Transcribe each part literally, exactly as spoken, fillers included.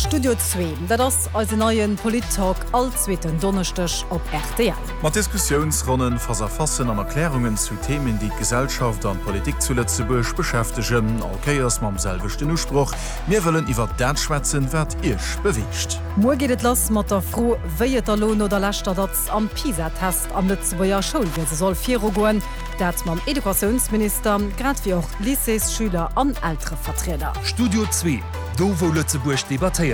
Studio Zwee, dat ass eisen neie Polit-Talk all zweeten Donneschdeg op R T L. Mat Diskussiounsronnen, Face-à-facen an Erklärungen zu Themen, déi d'Gesellschaft an d'Politik zu Lëtzebuerg beschäftegen. All Kéiers mam selwechten Usproch: Mir wëllen iwwer dat schwätzen, wat iech beweegt. Muer geet et lass mat der Fro, wéi et elo no der leschter Datz am PISA-Test am Lëtzebuerger Schoulwiese soll virugoen. Dat mam Educatiounsminister, grad wéi och Lycéesschüler an Elterevertrieder. Studio Zwee, do wou Lëtzebuerg debattéiert.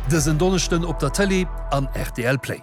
Dësen Donneschden op der Tëlee an R T L Play.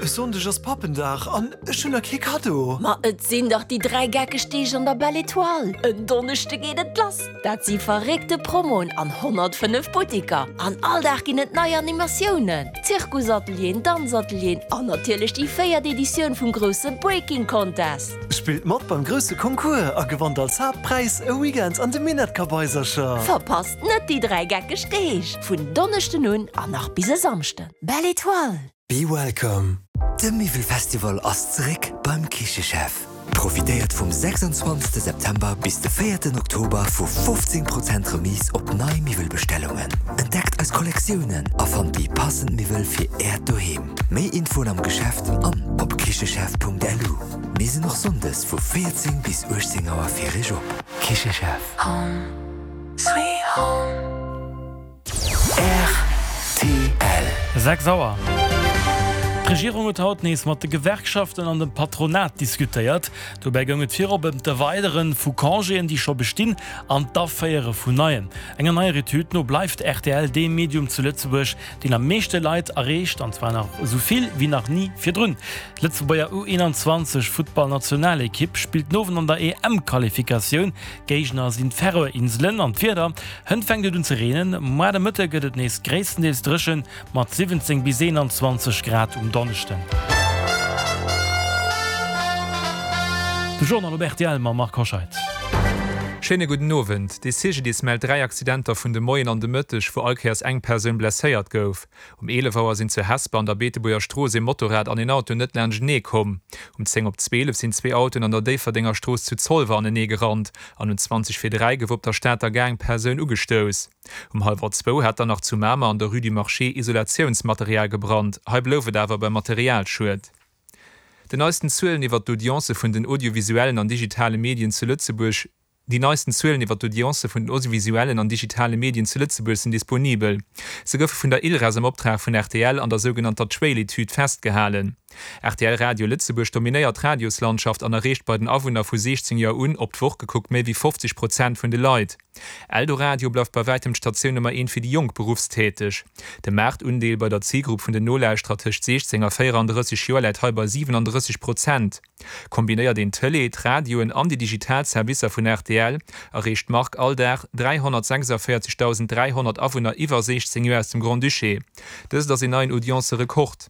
E Sonndeg ass Pappendag an ech hunn nach kee Kaddo. Ma et sinn dach déi dräi geckeg Deeg an der Belle Étoile. En Donneschde geet et lass. Dat si verréckte Promoen an honnertfënnef Butteker. An all Dag ginn et nei Animatiounen. Zirkusatelieren, Danzatelieren an natierlech déi véiert Editioun vum grousse Breaking Contest. Spillt mat beim grousse Concours a gewannt als Haaptpräis e Weekend an de Minett-Kabaisercher. Verpasst net déi dräi geckeg Deeg. Vun Donneschden un an nach bis e Samschden. Belle Étoile. Be welcome. De Miwwelfestival ass zeréck beim Kichechef. Profitéiert vum sechsundzwanzegste September bis de véierten Oktober vu fofzéng Prozent Remise op nei Miwwelbestellungen. Entdeckt eis Kollektiounen a fannt déi passend Miwwel fir äert Doheem. Méi Infoen am Geschäft an op kichechef Punkt L U. Mir sinn och sonndes vu véierzéng bis uechtzéng Auer fir iech op. Kichechef. Home, sweet home. R T L. Sechs Auer. D'Regierung huet haut nees mat de Gewerkschaften an dem Patronat diskutéiert. Dobäi goung et virop ëm d'Erweidere vu Congéen, déi scho bestinn, an d'Aféiere vun neien. Enger neier Etüd no bleift R T L dee Medium zu Lëtzebuerg, deen am meeschte Leit erreecht, an zwar nach esou vill wéi nach ni virdrun. D'Lëtzebuerger U eenanzwanzeg Futtballnationalekipp spillt den Owend an der E M-Qualifikatioun. Géigner sinn d'Färöer-Inselen. An d'Wieder: Hënt fänkt et un ze reenen, muer de Mëtte gëtt et nees gréisstendeels dréchen mat siwwenzéng bis eenanzwanzeg Grad um Donneschden. De Journal op R T L mam Marc Hoscheid. Schéine gudden Owend. De C G D I S mellt dräi Accidenter vun de Moien an de Mëtteg, wou all Kéiers eng Persoun blesséiert gouf. Um eelef Auer sinn zu Hesper an der Beetebuerger Strooss ee Motorrad an een Auto net laanschtenee komm. Um zéng op zwielef sinn zwee Autoen an der Déifferdenger Strooss zu Zolwer anenee gerannt an um zwanzeg vir dräi gouf op der Stater Gare eng Persoun ugestouss. Um hallwer zwou hat dann nach zu Mamer an der Rue du Marché Isolatiounsmaterial gebrannt. Hei blouf et awer beim Materialschued. Den neisten Zuelen iwwer d'Audience vun den audiovisuellen an digitale Medien zu Lëtzebuerg Déi neisten Zuelen iwwer d'Audience vun den audiovisuellen an digitale Medien zu Lëtzebuerg sinn disponibel. Se goufe vun der ILReS am Optrag vun R T L an der sougenannter Trail-Etüd festgehalen. R T L Radio Lëtzebuerg dominéiert d'Radioslandschaft an erreecht bei den Awunner vu siechzéng Joer un op d'Woch gekuckt méi wéi fofzeg Prozent vun de Leit. Eldoradio bleift bei wäitem d'Statioun Nummer eent fir déi jonk Beruffstäteg. De Maartundeel bei der Zilgrupp vun den Nolauschterer tëscht siechzéng a véierandrësseg Joer läit hei bei siwenandrësseg Prozent. Kombinéiert een d'Tëlee, d'Radioen an déi digital Servicer vun R T L, erreecht d'Mark all Dag dräihonnertsechsundvéierzegdausend dräihonnert Awunner iwwer siechzéng Joer aus dem Grand-Duché. Dëst ass een neien Audience-Rekord.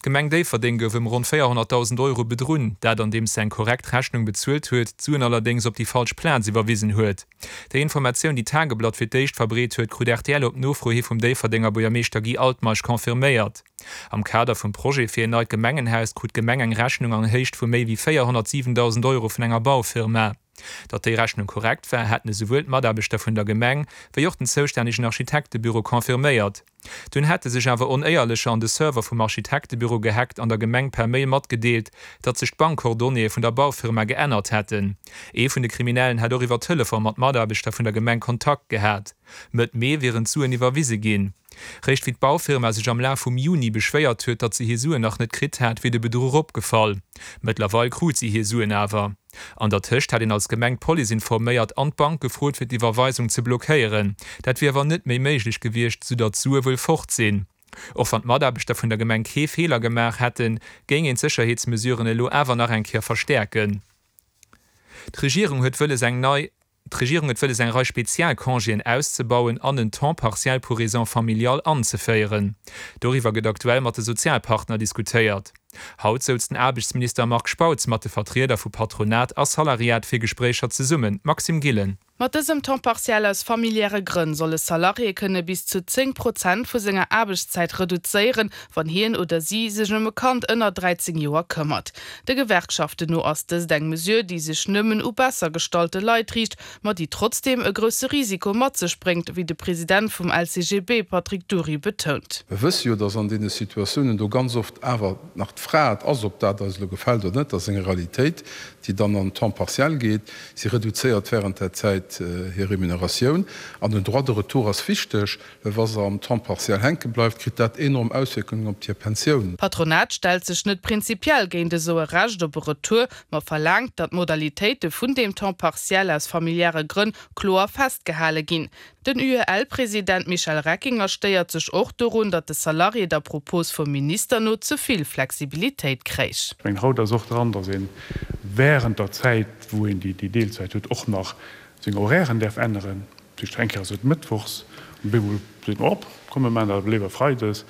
D'Gemeng Déifferdeng gouf ëm ronn véierhonnertdausend Euro bedrunn, dat andeems se eng korrekt Rechnung bezuelt huet, d'Suen allerdéngs op déi falsch Plaz iwwerwisen huet. Déi Informatioun, déi d'Tageblatt fir d'éischt verbreet huet, krut R T L op Nofro hi vum Déifferdenger Buergermeeschter Guy Altmeisch confirméiert. Am Kader vum Projet fir en neit Gemengenhaus krut d'Gemeng eng Rechnung an Héicht vu méi wéi véierhonnertsiwendausend Euro vun enger Baufirma. Datt déi Rechnung korrekt war, hätten esouwuel d'Mataarbechter vun der Gemeng wéi och den zoustännegen Architektebüro confirméiert. Dunn hätte sech awer Onéierlecher an de Server vum Architektebüro gehackt an der Gemeng per Mail matgedeelt, datt sech d'Bankcoordonnéeë vun der Baufirma geännert hätten. Ee vun de Kriminellen hätt och iwwer Telefon mat Mataarbechter vun der Gemeng Kontakt gehat. Mëtt Mee wieren d'Suen iwwerwise ginn. Réischt wéi d'Baufirma sech am Laf vum Juni beschwéiert huet, datt se hir Suen nach net kritt hätt, wier de Bedruch opgefall. Mëttlerweil krut si hir Suen awer. An der Tëscht hätt een als Gemeng d'Police informéiert an d'Bank gefrot, fir d'Iwwerweisung ze blockéieren. Dat wier awer net méi méiglech gewiescht, soudatt d'Sue wuel fort sinn. Och wann d'Mataarbechter vun der Gemeng kee Feeler gemaach hätten, géing een d'Sécherheetsmesuren elo awer nach eng Kéier verstäerken. D'Regierung huet wëlles eng nei D'Regierung huet wëlles eng Rei Spezialcongéen auszebauen an en Temps partiel pour raisons familiales anzeféieren. Doriwwer gëtt aktuell mat de Sozialpartner diskutéiert. Haut souz den Aarbechtsminister Marc Spautz mat de Vertrieder vu Patronat a Salariat fir Gespréicher zesummen. Maxime Gillen. Mat dësem Temps partiel aus familiäre Grënn soll e Salarié kënne bis zu zéng Prozent vu senger Aarbechtszäit reduzéieren, wann hien oder si sech ëm e Kand ënner dräizéng Joer këmmert. De Gewerkschaften no ass dëst eng Mesure, déi sech nëmmen u besser gestallte Leit riicht, ma déi trotzdeem e grousse Risiko mat sech bréngt, wéi de President vum L C G B Patrick Dury betount. Mir wësse jo, dass an deene Situatiounen do ganz oft awer nach d'Fra et ass, ob dat eis elo gefält oder net, dat ass eng Realitéit, déi dann an Temps partiel geet. Si reduzéiert während där Zäit hir Remuneratioun. An den Droit de retour ass wichteg, well wa se am Temps partiel hänke bleift, kritt dat enorm Auswierkungen op hir Pensioun. D'Patronat stellt sech net prinzipiell géint esou e Recht op e Retour, ma verlaangt, datt d'Modalitéite vun deem Temps partiel aus familiäre Grënn kloer festgehale ginn. Den U E L-President Michel Reckinger stéiert sech och dorun, datt de Salarié der Propos vum Minister no ze vill Flexibilitéit kréich. Ech mengen, haut ass och dran, datt ee während der Zäit, wou een déi Deelzäit huet, och nach seng Horairen däerf änneren. Dat heescht, eng Kéier ass et mëttwochs, an op eemol seet mer, Op, komm mir maachen dat awer léiwer freides.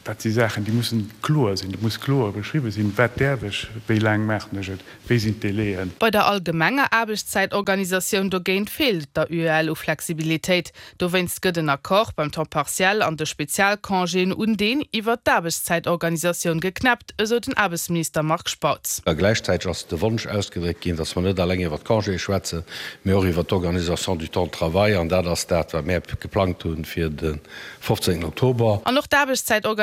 Dat si Saachen, déi mussen kloer sinn. Et muss kloer beschriwwen sinn, wat däerf ech, wéi laang maachen ech et, wéi sinn d'Délaien. Bei der allgemenger Aarbechtszäitorganisatioun dogéint feelt et der U E L u Flexibilitéit. Dowéinst gëtt en Accord beim Temps partiel an de Spezialcongéen un deen iwwert d'Aarbechtszäitorganisatioun geknäppt, esou den Aarbechtsminister Marc Spautz. A gläichzäiteg ass de Wonsch ausgedréckt ginn, dass mer net alleng iwwert d'Congéë schwätzen, mee och iwwert d'Organisation du temps de travail. An dat ass dat, wat mär geplangt hunn fir de fofzéngten Oktober. An och d'Aarbechtszäitorganisatioun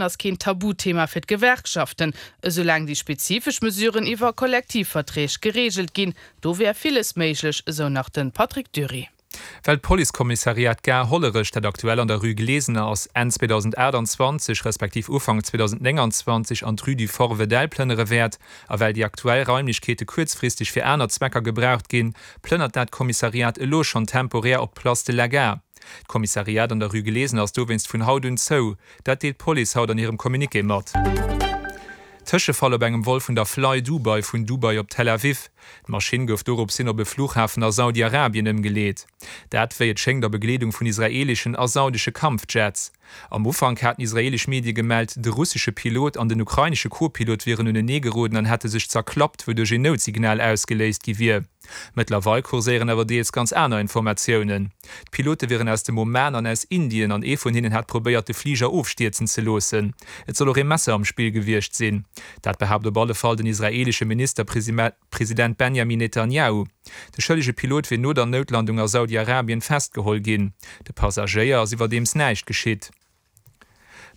ass keen Tabuthema fir d'Gewerkschaften, esoulaang déi spezifesch Mesuren iwwer Kollektivverträg gereegelt ginn. Do wär villes méiglech, esou nach de Patrick Dury. Well d'Policekommissariat Gare Hollerech, dat aktuell an der Rue Glesener ass, Enn zweedausendaachtanzwanzeg respektiv Ufank zweedausendnénganzwanzeg an d'Rue du Fort Wedell plënnere wäert, a well déi aktuell Raimlechkeete kuerzfristeg fir aner Zwecker gebraucht ginn, plënnert dat Kommissariat elo schonn temporär op d'Place de la Gare. D'Kommissariat an der Rue Glesener ass dowéinst vun haut un zou. Dat deelt d'Police haut an hirem Communiqué mat. Tëschefall op engem Vol vun der Fly Dubai vun Dubai op Tel Aviv. D'Maschinn gouf dorops hin op e Flughafen a Saudi-Arabien ëmgeleet. Dat wéi et schéngt a Begleedung vun israeeleschen a saudesche Kampfjets. Am Ufank haten israeelesch Medie gemellt, de russesche Pilot an den ukrainesche Co-Pilot wieren unenee geroden an hätte sech zerklappt, wouduerch een Noutsignal ausgeléist gi wier. Mëttlerweil kurséieren awer deels ganz aner Informatiounen. D'Pilote wieren aus dem Oman an aus Indien an ee vun hinnen hätt probéiert de Fliger ofstierzen ze loossen. Et soll och ee Messer am Spill gewiescht sinn. Dat behaapt op alle Fall den israeelesche Ministerpresident Benjamin Netanjahu. De schëllege Pilot wier no der Noutlandung a Saudi-Arabien festgeholl ginn. De Passagéier ass iwwerdeems näischt geschitt.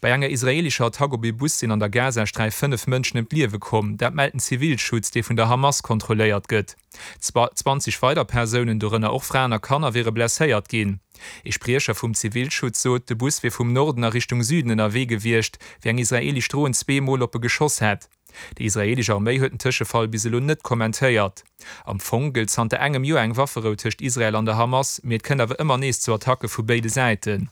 Bei enger israeelescher Attack op ee Bus sinn an der Gazasträif fënnef Mënschen ëm d'Liewe komm. Dat mellt den Zivilschutz, dee vun der Hamas kontrolléiert gëtt. Zwanzeg weider Persounen, dorënner och Fraen a Kanner, wiere blesséiert ginn. Ee Spriecher vum Zivilschutz sot, de Bus wier vum Norden a Richtung Süden ënnerwee gewiescht, wéi eng israeelesch Dron zwee Mol op e geschoss hätt. Déi israeelesch Arméi huet den Tëschefall bis elo net kommentéiert. Am Fong gëllt zanter engem Joer eng Wafferou tëscht Israel an der Hamas, mee et kënnt awer ëmmer nees zu Attacke vu béide Säiten.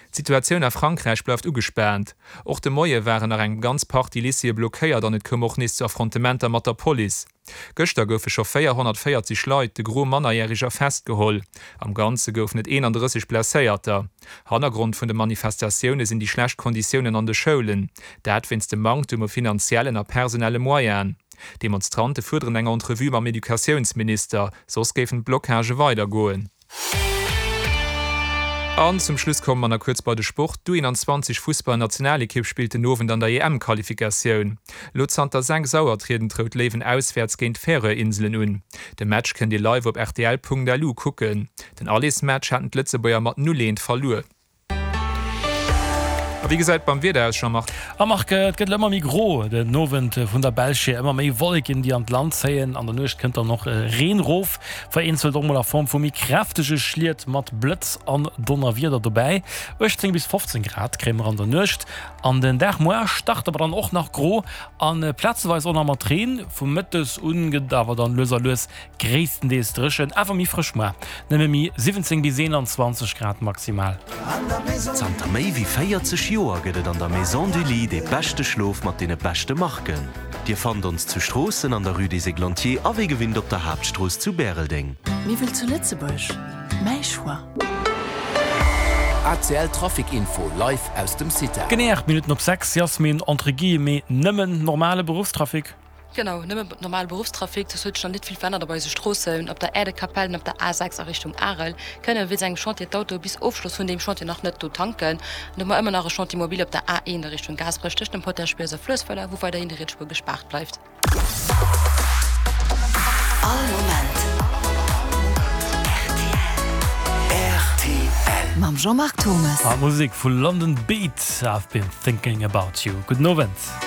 D'Situatioun a Frankräich bleift ugespaant. Och de Moie waren nach eng ganz Partie Lycéeë blockéiert an et koum och nees zu Affrontementer mat der Police. Gëschter goufe scho véierhonnertvéierzeg Leit, de Gros Mannerjäreger, festgeholl. Am Ganze goufen et eenandrësseg Blesséierter. Hannergrond vun de Manifestatioune sinn déi schlecht Konditiounen an de Schoulen. Dat wéinst dem Manktem u finanziellen a personelle Moyenen. D'Demonstrante fuerderen eng Entrevue mam Educatiounsminister, soss géifen d'Blockagë weidergoen. An zum Schluss komme mer nach kuerz bei de Sport. D'U eenanzwanzeg Fussballnationalekipp spillt den Owend an der E M-Qualifikatioun. Lo zanter sechs Auer trieden d'Rout Léiwen auswäerts géint d'Färöer-Inselen un. De Match kënnt Dir live op R T L Punkt L U kucken. Den Allesmatch haten d'Lëtzebuerger mat null eent verluer. A wéi gesäit et beim Wieder aus, Jean-Marc? A Marc, et gëtt ëmmer méi gro den Owend, vun der Belsch hier ëmmer méi Wolleken, déi an d'Land zéien. An der Nuecht kënnt dann och Reen erof, vereenzelt och mol a Form vu méi kräftege Schliet mat Blëtz an Donnerwieder dobäi. uechtzéng bis fofzéng Grad kréie mer an der Nuecht. An den Dag muer start awer dann och nach gro an plazeweis och nach mat Reen. Vu mëttes un gëtt et awer dann lues a lues gréisstendeels dréchen, awer méi frësch muer, nëmme méi siwwenzéng bis eenanzwanzeg Grad maximal. Zanter méi wéi véierzeg Joer gëtt et an der Maison du Lit dee beschte Schlof mat deene beschte Marken. Dir fannt ons zu Stroossen an der Rue des Églantiers a wéi gewinnt op der Haaptstrooss zu Bäreldeng. Miwwel zu Lëtzebuerg, mäi Choix. A C L Trafic Info live aus dem CITA. Genee aacht Minutten op sechs, Yasmin, entre guillemets nëmmen normale Beruffstrafic. Genau, nëmme normale Beruffstrafic, soss huet sech nach net vill verännert op eise Stroossen. Op der Aire de Capellen, op der A sechs a Richtung Arel kënne wéinst engem Chantier d'Autoe bis Ofschloss vun deem Chantier nach net do tanken. An do hu mer ëmmer nach e Chantier mobile op der A eent a Richtung Gaasperech tëscht dem Potaschbierg a Fluessweiler, wou weiderhin déi riets Spuer gespaart bleift. All Moment rtl. Mam Jean-Marc Thomes. A Musek vu London Beat, I've been thinking about you. Gudden Owend.